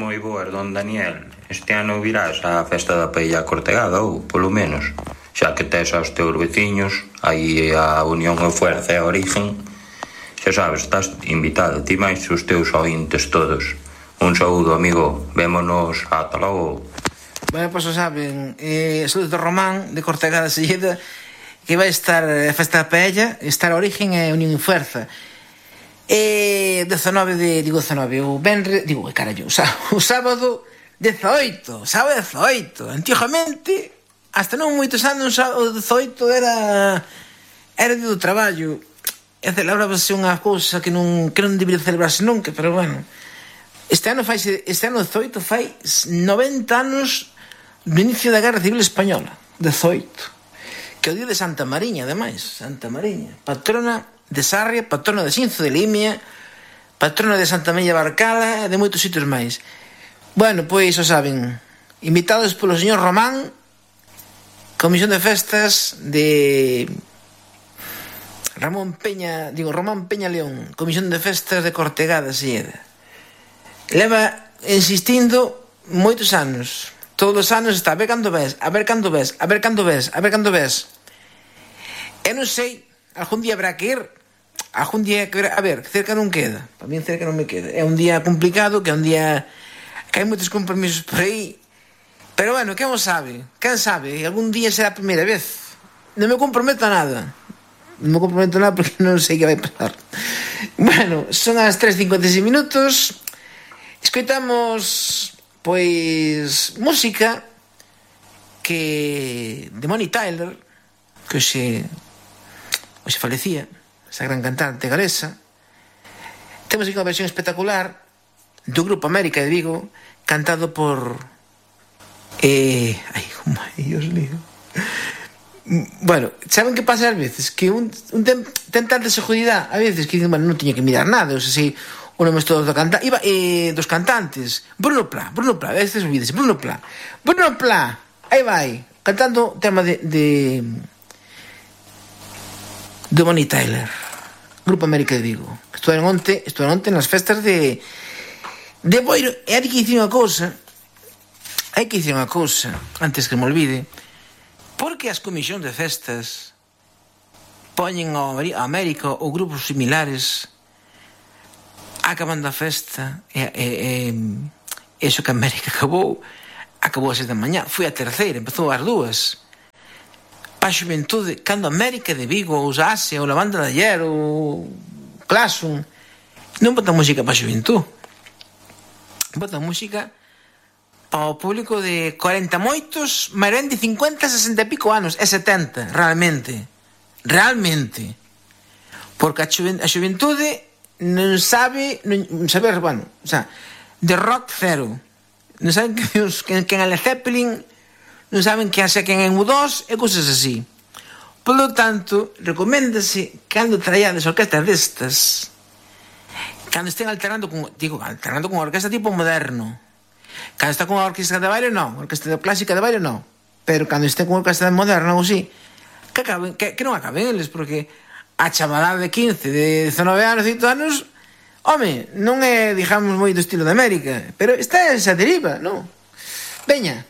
Moi boas, don Daniel. Este ano virás á festa da paella cortegada ou, polo menos, xa que tes aos teus veciños, aí a Unión e Fuerza e a Origen, xa sabes, estás invitado, ti máis os teus ointes todos. Un saúdo, amigo. Vémonos ata logo. Bueno, pois o saben, saúdos do Román, de Cortegada Silleda, que vai estar a festa da paella, estar a Origen e a Unión e Fuerza. 19 o venre, o sábado 18, sábado 18. Antigamente, hasta non moitos anos, o 18 era día do traballo, e celebrábase unha cousa que non debería celebrarse nunca, pero bueno, este ano 18 fai 90 anos do inicio da Guerra Civil Española, 18, que é o día de Santa Mariña, ademais, Santa Mariña, patrona de Sarria, patrona de Xinzo de Limia, patrona de Santa Mella Barcala e de moitos sitios máis. Bueno, pois, o saben, invitados polo señor Román, Comisión de Festas de Román Peña León, Comisión de Festas de Cortegada Silleda. Leva insistindo moitos anos. Todos os anos está, a ver cando ves. Eu non sei, algún día habrá que ir. A ver, cerca non queda. Para mí cerca non me queda. É un día complicado, que é un día que hai moitos compromisos por aí. Pero bueno, quen sabe? Algún día será a primeira vez. Non me comprometo a nada. Porque non sei que vai pasar. Bueno, son as 3:56 minutos. Escoitamos, pois, música que de Bonnie Tyler, que hoxe falecía, esa gran cantante galesa. Temos aquí unha versión espectacular do Grupo América de Vigo, cantado por Dios mío. Bueno, saben que pasa ás veces? Que un ten tanta seguridade a veces que dicen, bueno, non tiña que mirar nada, o sea, si o nome todo dos cantantes. Bruno Pla, a veces olvídese, Bruno Pla, aí vai, cantando o tema de Bonnie Tyler, Grupo América de Vigo. Estuveron onte nas festas de Boiro. E hai que dicir unha cousa, antes que me olvide, porque as comisións de festas poñen a América ou grupos similares acabando a festa, eso que a América acabou a 6 da mañá, foi a terceira, empezou ás 2. Pa xuventude, cando América de Vigo, ou Asia, ou la Banda de Ayer, ou Classum, non botan música pa xuventude, botan música para o público de 40 moitos, máis ben de 50, 60 e pico anos, e 70, realmente, porque a xuventude non sabe, bueno, o sea, de rock cero, non saben quen é Led Zeppelin, non saben quen é U2 e cousas así. Polo tanto, recoméndase, cando traiades orquestas destas, cando estén alternando con orquesta tipo moderno, cando está con a orquesta de baile, non, orquesta clásica de baile, non, pero cando estén con orquesta moderna ou así, que non acaben eles, porque a chavalada de 15, de 19 anos, 18 anos, home, non é, digamos, moi do estilo de América, pero está esa deriva, non? Veña.